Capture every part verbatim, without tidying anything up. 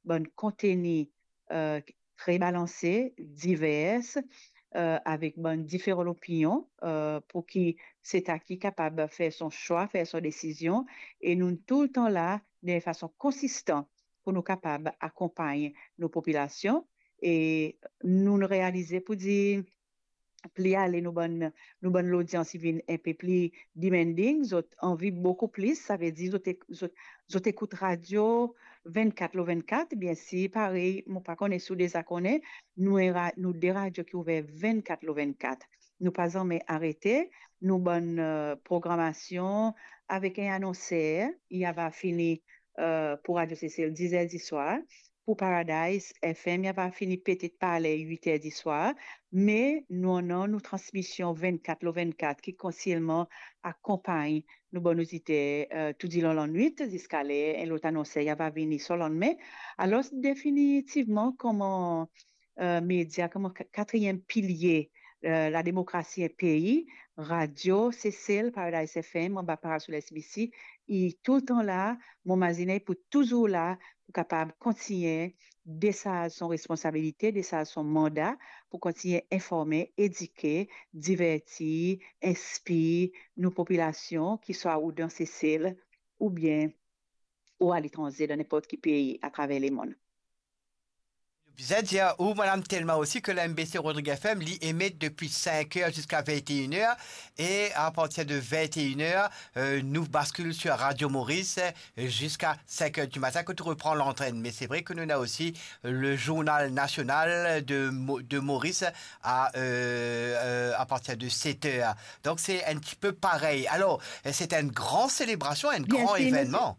bann konteni, eh, tre balanse, diver, eh, avek bann diferan lopinion, eh, pou ki seta ki kapab fer son swa, fer son desizion, e nou toultan la, de fason konsistan, pou nou kapab akonpagn nou popilasion, e nou realize pou dir, pli ale nou bann, nou bann lodians, li vinn enpe pli demanding, zot anvi boukou plis, savedir zot ek-, zot, zot ekout radio vennkat lor vennkat, biensir, parey, mo pa kone si ou deza kone, nou enn ra-, nou de radio ki ouver vennkat lor vennkat. Nou pa zame arete, nou bann, eh, programasion avek enn anonser, li ava fini, eh, pou Radio Sesel diz er diswar, pou Paradise F M, li ava fini petet par ler wit er diswar, me nou annan nou transmision vennkat lor vennkat ki kontinyelman akonpagn nou bann oditer, eh, toudilon lanwit, ziska ler enn lot anonser li ava vini so landime. Alor, definitivman, kouma, eh, media, kouma ka-, katriem pilie, eh, lademokrasi en pei, Radio Sesel, Paradise F M, anba parasol S B C, li toultan la, mo mazine li pou touzour la, pou kapab kontign desarz son responsabilite, desarz son manda, pou kontign informe, edike, diverti, inspir nou popilasion, ki swa ou dan Sesel, oubien ou aletranze, dan ninport ki pei atraver lemonn. Bizin dir ou, Madame Thelma, osi, ke la M B C Rodrigues F M, li emet depi cinq heures jusqu'à vingt et une heures, et à partir de vingt et une heures, euh, nous bascule sur Radio Maurice, euh, jusqu'à cinq heures du matin, quand on reprend l'antenne. Mais c'est vrai que nous avons aussi le journal national de Mo-, de Maurice à, euh, euh, à partir de sept heures. Donc, c'est un petit peu pareil. Alors, c'est une grande célébration, un grand événement.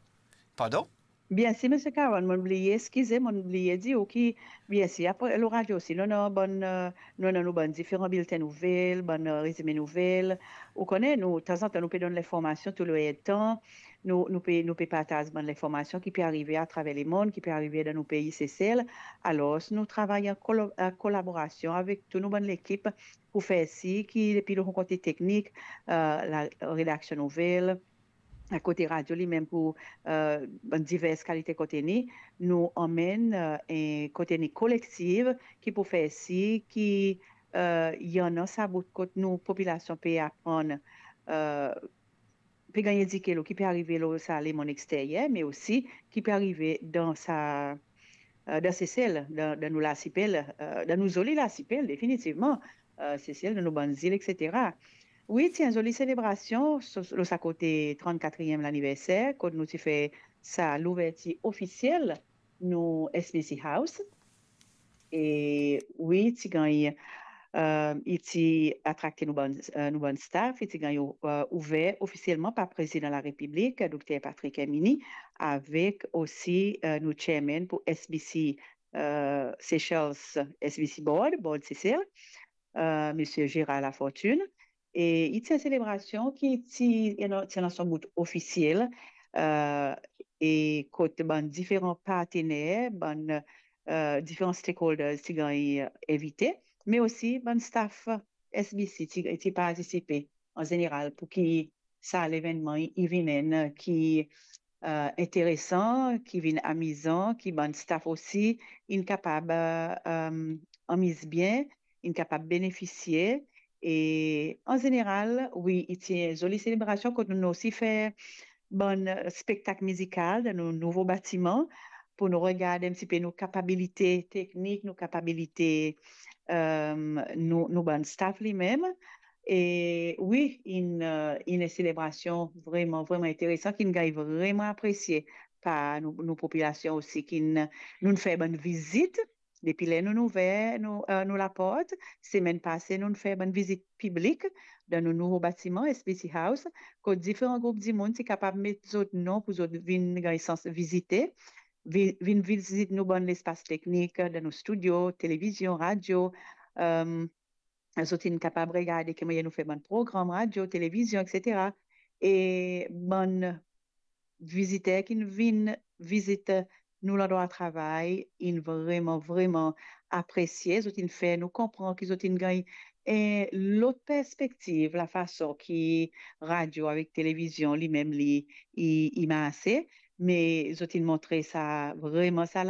Pardon ? Biensir, Misie Caron, mo'nn bliye, eskize, mo'nn bliye dir ou ki, biensir, apre, lor radio osi, nou, nou, bann, eh, nou, nou, nou, bann diferan bilten nouvel, bann, eh, rezime nouvel. Ou kone, nou, tanzantan, nou pe donn linformasion tou le tan. Nou, nou pe, nou pe partaz bann linformasion ki pe arive atraver lemonn, ki pe arive dan nou pei Sesel. Alor, nou travay an kolo-, an kolaborasion avek tou nou bann lekip pou fer sir ki, depi lor kote teknik, eh, la redaksion nouvel, kote radio limem pou, eh, bann diver kalite konteni, nou anmenn, eh, enn konteni kolektif ki pou fer sir ki, eh, li annan sa bout kot nou popilasion pe aprann, eh, pe gagn edike lor ki pe arive lor sa lemonn exteryer, me osi ki pe arive dan sa, eh, dan Sesel, dan, dan nou lasipel, eh, dan nou zoli lasipel, definitivman, eh, Sesel, dan nou bann zil, et cetera. Wi, ti enn zoli selebrasion so-, lor sa kote trannkatriem laniverser, kot nou ti fer sa louvertir ofisiel nou S B C House. E wi, ti gagn, eh, li ti atrakte nou bann, eh, nou bann staff, li ti gagn, eh, ouver ofisielman par Prezidan Larepiblik, Dokter Patrick Herminie, avek osi, eh, nou chairman pou S B C, eh, Seychelles, S B C Board, Board Seychelles, eh, Misie Gérard Lafortune. E li ti enn selebrasion ki ti, you know, ti annan son bout ofisiel, eh, e kot bann diferan partener, bann, eh, diferan stakeholders ti gagn invite, me osi bann staff S B C ti, ti partisipe an zeneral pou ki sa levennman li, li vinn enn ki, eh, interesan, ki vinn amizan, ki bann staff osi inn kapab, eh, amiz bien, inn kapab benefisie. E an zeneral, wi, li ti enn zoli selebrasion kot nou osi fer bann, eh, spektak mizikal dan nou nouvo batiman pou nou regard enn tipe nou kapabilite teknik, nou kapabilite, eh, nou, nou bann staff limem. E wi, inn, eh, inn enn selebrasion vreman, vreman interesan, ki'nn gagn vreman apresie par nou, nou popilasion osi, ki'nn, nou'nn fer bann vizit, depi ler nou'nn ouver nou, eh, nou laport, semenn pase, nou'nn fer bann vizit piblik dan nou nouvo batiman, S B C House, kot diferan group dimoun ti kapab met zot non pou zot vinn gagn sans vizite, vi-, vinn vizit nou bann lespas teknik, dan nou studio, televizion, radio, eh, zot inn kapab regarde ki mannyer nou fer bann program radio, televizion, et cetera. E bann viziter ki'nn vinn vizit nou landrwa travay, inn vreman, vreman apresie. Zot inn fer nou konpran ki zot inn gagn enn lot perspektiv lafason ki radio avek televizion limem li, li, li marse. Me zot inn montre sa, vreman sa